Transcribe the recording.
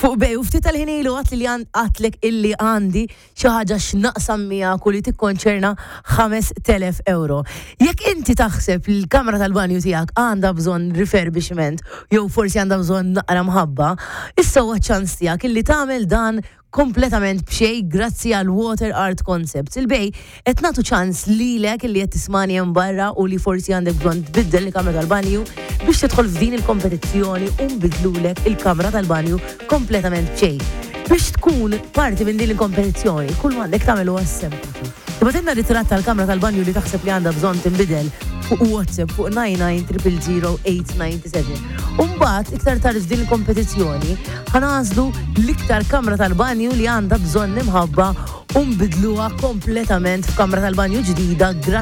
Fuq Bay u ftit tal-ħin ilu għatli li għatlek illi għandi xi ħaġa x'naqsam miegħek u li tikkonċerna 5000 euro. Jekk inti taħseb li l-kamra tal-banju tiegħek għandha bżonn refurbishment jew forsi għandha bżonn naqra mħabba, issa huwa ċ-ċans tiegħek illi tagħmel dan kompletament b'xejn grazzi għal Water Art Concepts. Il-Bay qed nagħtu ċans lilek illi qed tismani hemm barra u li forsi għandek bżonn tbiddel il-kamra tal-banju biex tidħol f'din il-kompetizzjoni u nbiddlulek il-kamra tal-banju kompletament b'xejn. Biex tkun parti minn din il-kompetizzjoni, kull m'għandek tagħmel huwa sempliċi. Tibgħatilna ritratt tal-kamra tal-banju li taħseb li għandha bżonn tinbidel fuq WhatsApp fuq 99000897. U mbagħad iktar tard f'din il-kompetizzjoni ħa nagħżlu l-iktar kamra tal-banju li għandha bżonn imħabba u nbidluha kompletament f'kamra tal-banju ġdida grazzi.